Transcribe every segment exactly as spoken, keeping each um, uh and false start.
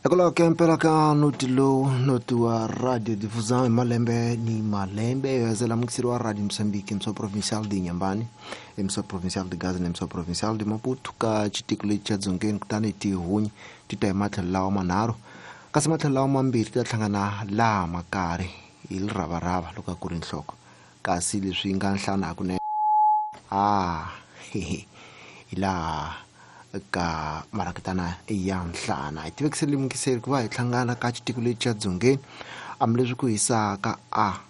Hikwalaho ka mpela ka noti lowu noti wa Radio Difusão hi malembe ni malembe yo mukiseri wa Radio Moçambique, emissão provincial de Inhambane, emissão provincial de Gaza na emissão provincial de Maputo ka xitiko lexi xa Dzongeni. Kutani tihunyi ti ta hi matlhelo lawa manharhu, kasi matlhelo lawa mambirhi ti ta hlangana laha makari hi liravarava loko a ku ri nhloko, kasi leswi nga nhlana hakunene a hi laha ka marakitana ya nhlana. Hi tivekisele mukiseri ku va hi hlangana ka xitiko lexi xa Dzongeni, hambileswi ku hisaka a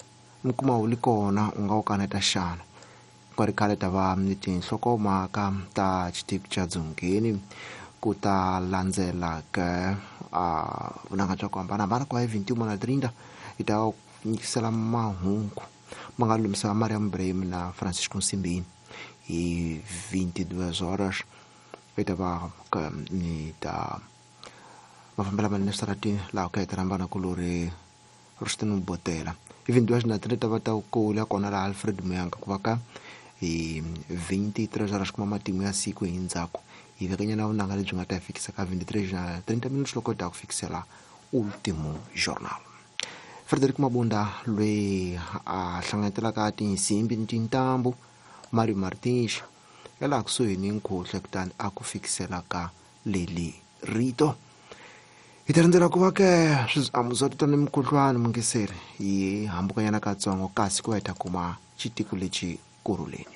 mi kuma wu li kona u nga wu kaneta xana. Ku nga ri khale ta va ni tinhlokomhaka ta xitiko xa Dzongeni, ku ta landzela ka a vunanga bya ku hambanahambana ku va hi vintiuma na trinta hi ta nyikisela mahungu ma nga lumisa Mariam Ibrahim na Francisco Nsimbini hi vinte e duas horas. Hi ta va ni ta mafambela manene switaratini laha ku ya rhambana kulori Rustin Botela hi vinte e duas na trinta va ta kula kona laha Alfred Muyanga ku va ka hi vinte e três horas kuma matimu ya siku hi ndzhaku hi vekanyana vunanga lebyi nga ta hi fikisa ka vinte e três na trinta minutos loko hi ta ku fikisela Ultimo Jornal. Frederick Mabunda loyi a hlanganyetelaka tinsimbi ni tintambu, Mario Martins ya laha kusuhi ni nkhuhle, kutani a ku fikisela ka leli rito. Hi ta rindzela ku va ke swiamu swa titwa ni mukhuhlwani mungiseri hi hambukanyana katsongo, kasi ku va hi ta kuma xitiko lexi kurhuleni.